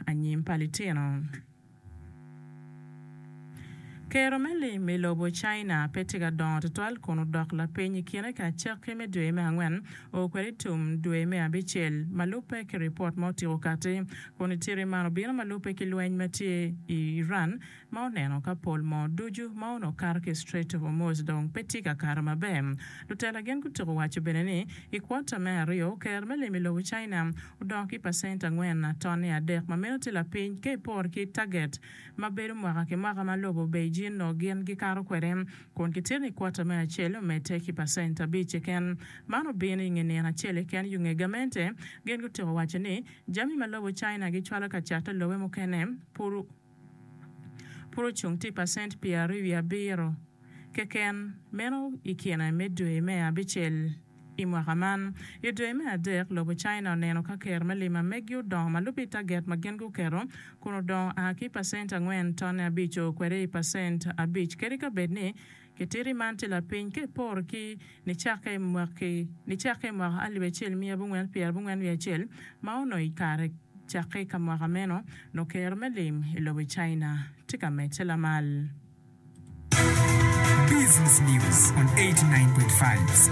Anyim pa Litino. Kero me lim i lobo China pe tye ka dongo tutwal kun odok lapiny i kine ka acakki me dwe me angwen o kwede i tum dwe me abicel ma lubbe ki ripot ma otyeko kati kun itiri man obino ma lubbe ki lweny ma tye i Iran ma oneno ka pol moo ducu ma onongo kato ki i Strait of Hormuz dong pe tye ka kato maber. Lutela gin gutyeko waco bene ni i kwota me aryo ker me lim i lobo China odongo ki pacent angwen tonne adek ma meno tye lapiny ka iporo ki taget ma bedo mwaka ki mwaka ma lobo Beijing nongo gin gikato kwede kun kitito ni kwota me acel omedde ki pacent abic keken. Man obino i nge nino acel keken yo nge gamente gin gutyeko waco ni jami ma lobo China gicwalo ka cato i lobe mukene pud Pud ocung tye i pacent 27 keken, meno i kine me dwe me abicel i mwaka man. I dwe me adek, lobo China oneno ka ker me lim ma meggi odongo ma lubbe i taget ma gin guketo, kun odongo a ki i pacent angwen tonne abic o kwede i pacent abic. Kadi ka bed ni kititi man tye lapiny ka iporo ki nicakke i mwaka alip acel miya abongwen pyerabongwen wiye acel ma onongo i kare Cakke ka mwaka meno, nongo kero me lim i lobo China tye ka medde lamal. Business News on 89.5.